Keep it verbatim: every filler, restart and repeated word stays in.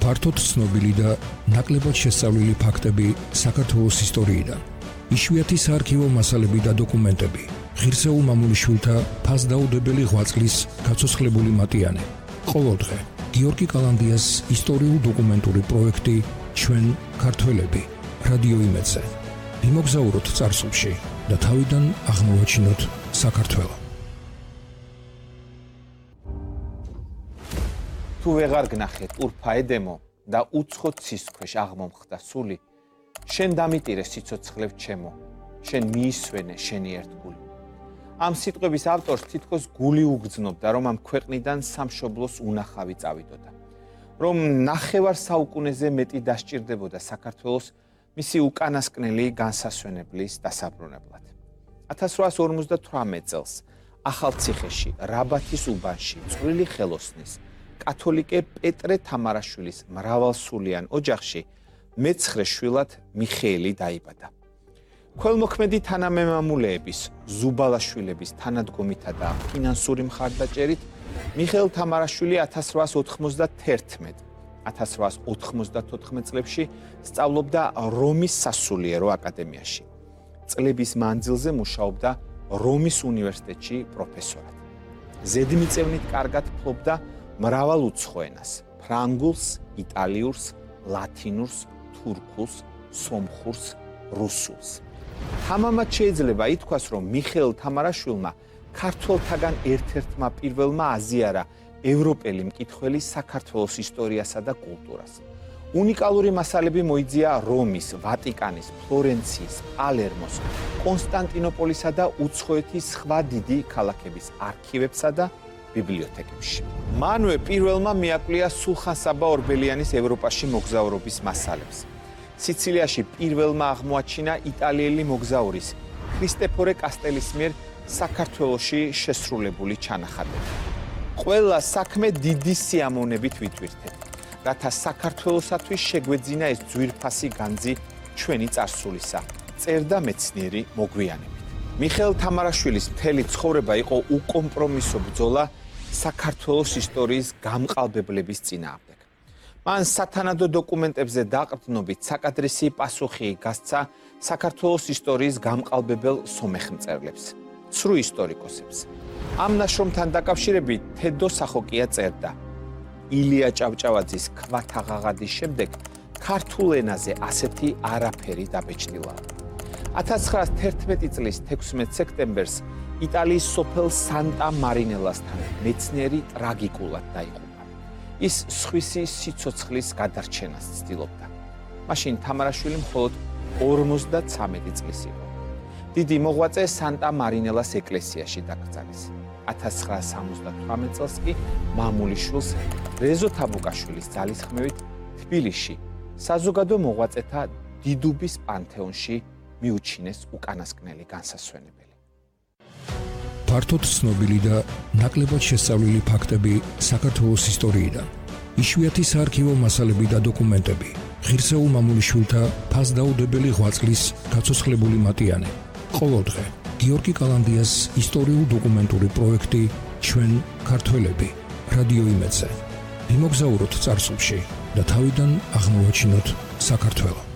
ფართოდ ცნობილი და ნაკლებად შესწავლილი ფაქტები საქართველოს ისტორიიდან. იშვიათი საარქივო მასალები და დოკუმენტები. ღირსეულ მამულიშვილთა ფასდაუდებელი ღვაწლის გაცოცხლებული მატიანე. ყოველდღე გიორგი კალანდიას ისტორიულ-დოკუმენტური პროექტი ჩვენ ქართველები რადიო იმედზე. ვიმოგზაუროთ წარსულში და თავიდან აღმოვაჩინოთ საქართველო. თუ ვეღარ გნახეთ ურფა ედემო და უცხო ცის ქვეშ აღმომხდა სული, შენ დამიტირე სიცოცხლევ ჩემო, შენ მიისვენე შენი ერთგული. ამ სიტყვების ავტორს თითქოს გული უგრძნობდა, რომ ამ ქვეყნიდან სამშობლოს უნახავი წავიდოდა, რომ ნახევარ საუკუნეზე მეტი დასჭირდებოდა საქართველოს მისი უკანასკნელი განსასვენებლის დასაბრუნებლად. ათას რვაას ორმოცდათვრამეტ წელს ახალციხეში, რაბათის უბანში, წვრილი ხელოსნის კათოლიკე პეტრე თამარაშვილის მრავალსულიან ოჯახში მეცხრე შვილად მიხეილი დაიბადა. ქველმოქმედი თანამემამულეების, ზუბალაშვილების თანადგომითა და ფინანსური მხარდაჭერით მიხეილ თამარაშვილი ათას რვაას ოთხმოცდათერთმეტ ათას რვაას ოთხმოცდათოთხმეტ წლებში სწავლობდა რომის სასულიერო აკადემიაში. წლების მანძილზე მუშაობდა რომის უნივერსიტეტში პროფესორად. ზედმიწევნით კარგად ფლობდა მრავალ უცხო ენას: ფრანგულს, იტალიურს, ლათინურს, თურქულს, სომხურს, რუსულს. თამამად შეიძლება ითქვას, რომ მიხეილ თამარაშვილმა ქართველთაგან ერთ-ერთმა პირველმა აზიარა ევროპელი მკითხველი საქართველოს ისტორიასა და კულტურას. უნიკალური მასალები მოიძია რომის, ვატიკანის, ფლორენციის, პალერმოს, კონსტანტინოპოლისა და უცხოეთის სხვა დიდი ქალაქების არქივებსა და ბიბლიოთეკებში. მანვე პირველმა მიაკვლია სულხან-საბა ორბელიანის ევროპაში მოგზაურობის მასალებს. სიცილიაში პირველმა აღმოაჩინა იტალიელი მოგზაურის ქრისტეფორე კასტელის მიერ საქართველოში შესრულებული ჩანახატები. ყველა საქმე დიდი სიამოვნებით ვიტვირთეთ, რათა საქართველოსათვის შეგვეძინა ეს ძვირფასი განძი ჩვენი წარსულისა, წერდა მეცნიერი მოგვიანებით. მიხეილ თამარაშვილის მთელი ცხოვრება იყო უკომპრომისო ბრძოლა საქართველოს ისტორიის გამყალბებლების წინააღმდეგ. მან სათანადო დოკუმენტებზე დაყრდნობით საკადრისი პასუხი გასცა საქართველოს ისტორიის გამყალბებელ სომეხმწერლებს, ცრუ ისტორიკოსებს. ამ ნაშრომთან დაკავშირებით თედო სახოკია წერდა: ილია ჭავჭავაძის ქვათაღაღადის შემდეგ ქართულ ენაზე ასეთი არაფერი დაბეჭდილა. ათას ცხრაას თერთმეტი წლის თექვსმეტ სექტემბერს იტალიის სოფელ სანტა მარინელასთან მეცნიერი ტრაგიკულად დაიღუპა. ის სხვისი სიცოცხლის გადარჩენას ცდილობდა. მაშინ თამარაშვილი მხოლოდ ორმოცდაცამეტი წლის იყო. დიდი მოღვაწე სანტა მარინელას ეკლესიაში დაკრძალეს. ათას ცხრაას სამოცდათვრამეტ წელს კი მამულიშვილს რეზო თაბუკაშვილის ძალისხმევით თბილისში საზოგადო მოღვაწეთა დიდუბის პანთეონში მიუჩინეს უკანასკნელი განსასვენებელი. ფართოდ ცნობილი და ნაკლებად შესწავლილი ფაქტები საქართველოს ისტორიიდან. იშვიათი საარქივო მასალები და დოკუმენტები. ღირსეულ მამულიშვილთა ფასდაუდებელი ღვაწლის გაცოცხლებული მატიანე. ყოველდღე გიორგი კალანდიას ისტორიულ-დოკუმენტური პროექტი ჩვენ ქართველები რადიო იმედზე. ვიმოგზაუროთ წარსულში და თავიდან აღმოვაჩინოთ საქართველო.